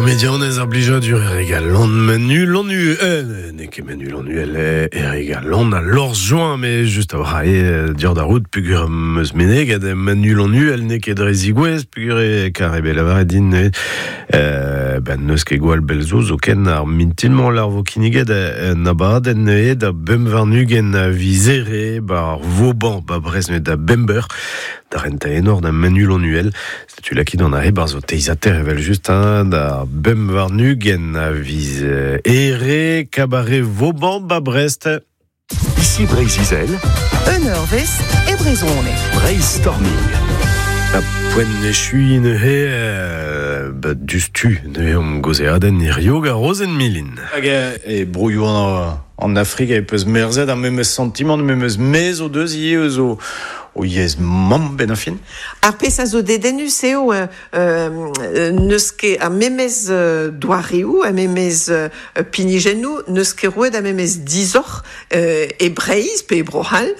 Komedianez ar blijadur Erik Alon Manu Lanu euh, n'eo ket Manu Lanuel Erik Alon a Lors Join mais just a eo dior da rout pugur meus meneg ad Manu Lanuel n'eo ket dre zigouez pugur e kar ebe lavaret din euh, ben neus ket gwall belzo zo ken ar mintinmañ lar vo kinniget en abadenn neuze da bemp warn-ugent a viz Here ba ar Vauban ba Brest neuze da bemp eur da rentañ enor da Manu Lanuel. Setu lakit an aze 'barzh ho teizater evel-just hein, da 25 a viz Here, cabaret Vauban ba Brest. Ici Breizh-Izel. Un eurvezh e brezhoneg. Breizh-Storming. Ha poent echuiñ neuze euh, ba diouzhtu neuze omp gaozeadenn hirio gant Rozenn Milin. Hag e broioù an Afrik e peus merzet ar memes santimant, memes mezh o deus ivez eus o o yezh mamm benn ar fin. Ar pezh a zo dedennus eo n'eus ket ar memes doareoù, ar memes pinijennoù, n'eus ket roet ar memes disoc'h e Breizh pe e Bro-C'hall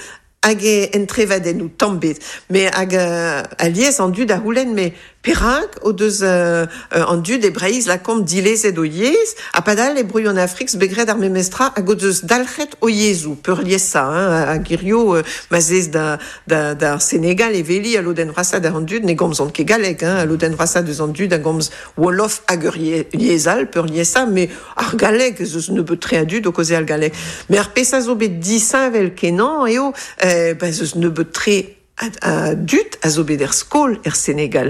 hag en trevadennoù tamm 'bet. Met hag alies an dud a c'houlenn met Perak o deus an dud e Breizh lakaomp dilezet o yezh ha padal e broioù an Afrik zo bet graet ar memes tra hag o deus dalc'het o yezhoù peurliesañ hein, hag hirio ma 'z ez da d'ar Senegal e weli al lodenn vrasañ deus an dud ne gomzont ket galleg hein, al lodenn vrasañ deus an dud a gomz wolof hag ur yezh all peurliesañ met ar galleg ez eus nebeut-tre a dud o kaozeal galleg. Met ar pezh a zo bet disheñvel-kenañ eo ba ez eus nebeut-tre A dud a zo bet er skol er Senegal.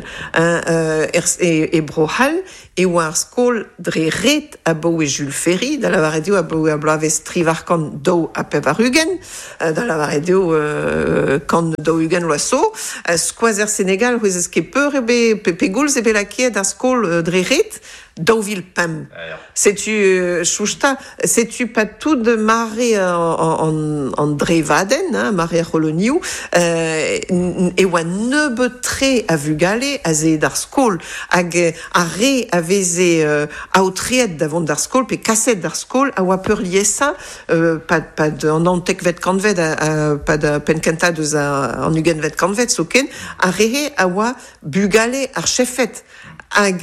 E Bro-C'hall e oa ar skol dre ret abaoe Jules Ferry, da lavaret eo abaoe ar bloavezh 1882, da lavaret eo 140 vloaz zo. Skoaz er Senegal, c'hwezez ket peur eo bet, pegoulz eo bet lakaet ar skol dre ret? 2005. Setu chousta, setu pas tout mare an drevadenn, hein, mare ar c'holonioù, e oa nebeut-tre a vugale aze aet d'ar skol hag ar re a veze aotreet da vont d'ar skol pe kaset d'ar skol a oa peurliesañ pad an naontekvet kantved, pad penn-kentañ deus an ugentvet kantved zoken, ar re-se a oa bugale ar chefed. Hag,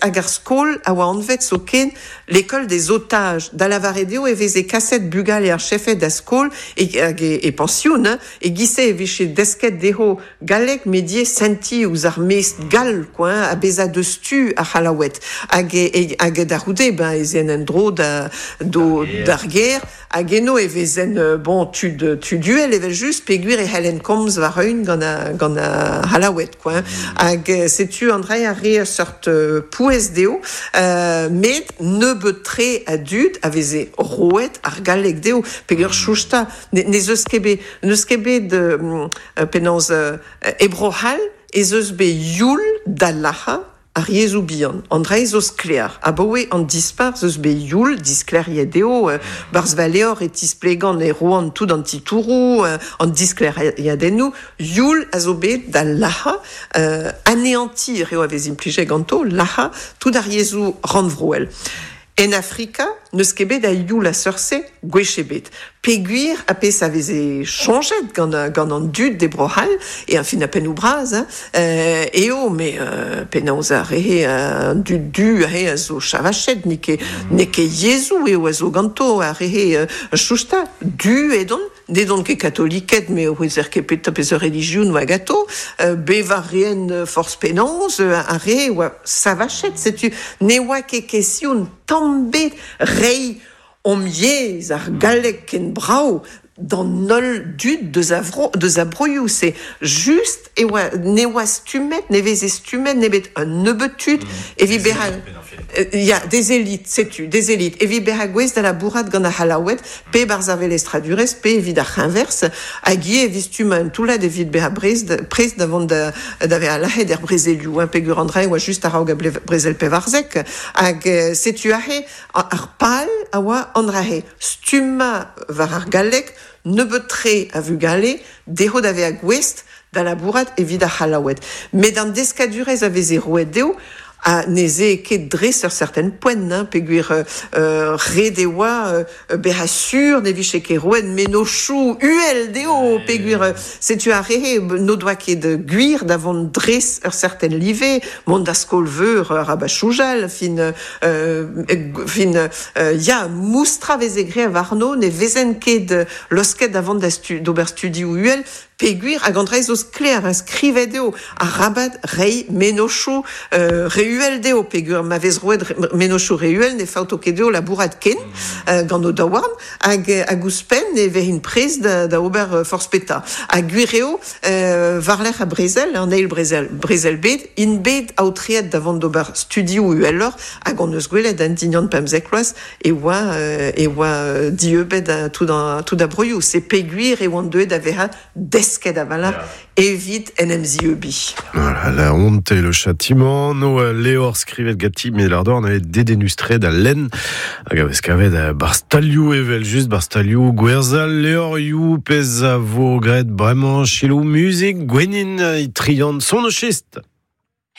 hag ar skol a oa anvet zoken l'école des otages, da lavaret eo e veze kaset bugale ar chefed da skol e, hag e, e pension, hein, e-giz-se e vije desket dezho galleg met ivez sentiñ ouzh ar mestr gall quoi, hein, ha bezañ deus tu ar C'hallaoued. Hag, e, hag da c'houde ben, ez eent en-dro da, d'o, d'ar gêr Hag eno e vezent bon tud tud uhel evel-just peogwir e c'hellent komz war-eeun gant a gant ar C'hallaoued quoi. Hag setu an dra a re ur seurt pouez dezho met nebeut-tre a dud a veze roet ar galleg dezho peogwir chousta ne n'ez eus ket bet n'eus ket bet penaos e Bro-C'hall ez eus bet youl da lac'hañ Ar yezhoù bihan, an dra zo sklaer. Abaoe an dispac'h 'z eus bet youl, disklêriet eo, 'barzh va levr e tisplegan e roan tout an titouroù, an disklêriadennoù. Youl a zo bet da lac'hañ, anéantir eo a vez implijet ganto, lac'hañ tout ar yezhoù rannvroel. En Afrika n'eus ket bet a youl a seurt-se gwech ebet peogwir ar pezh a veze soñjet gant gant an dud e Bro-C'hall e ar fin ar pennoù bras hein eo met penaos ar re an dud du aze a zo chavachet n'eo ket n'eo ket yezhoù eo a zo ganto ar re chousta du edont N'edont ket katoliked, met ouezer ket petra peseurt relijion oa ganto. Bevañ a reent forzh penaos, ar re oa savachet. Setu ne oa ket kestion tamm 'bet reiñ hom yezh, ar galleg ken brav, d'an holl dud deus a vro, deus a broioù-se. Just e oa, ne oa stummet, ne veze stummet nemet un nebeud tud evit bezañ Ya, des élites, setu, des élites. Evit bezañ gouest da labourat gant ar C'hallaoued, pe barzh ar velestradurezh, pe evit ar c'heñverzh, hag ivez evit stummañ un toullad evit bezañ prest da vont da, da vezañ lazhet er brezelioù, hein, peogwir an dra e oa just a-raok ar brezel 14. Hag setu aze ar pal a oa an dra-se, stummañ war ar galleg nebeut-tre a vugale, dezho da vezañ gouest da labourat evit ar C'hallaoued. Met an deskadurezh a veze roet dezho A neze ket dres ur certain poent, hein, peogwir ret e oa bezañ sur ne vije ket roet mennozhioù uhel dezho, peogwir setu ar re n'o doa ket gwir da vont dres ur certain live, mont da skol-veur arabat soñjal, fin fin ya, moustra veze graet warno, ne vezent ket losket da vont da d'ober studioù uhel, peogwir hag an dra zo sklaer, hein, skrivet eo arabat reiñ mennozhioù re uhel dezho, peogwir ma vez roet mennozhioù re uhel ne faoto ket dezho labourat ken gant o daouarn, hag hag ouzhpenn e vezint prest da ober forzh petra. Ha gwir eo, war-lerc'h ar brezel, an eil brezel, brezel bed, int bet aotreet da vont d'ober studioù uheloc'h, hag hon eus gwelet en dindan 15 vloaz e oa e oa dieubet tout an tout ar broioù. Se peogwir e oant deuet da vezañ desket a-walc'h evit en em zieubiñ. Voilà, la honte et le châtiment, no levr skrivet ganti Melardorn eo dedennus-tre da lenn hag a vez kavet barzh stalioù evel just barzh stalioù gwerzhañ levrioù pezh a vo graet bremañ selaou muzik Gwennyn Itrian son o chist.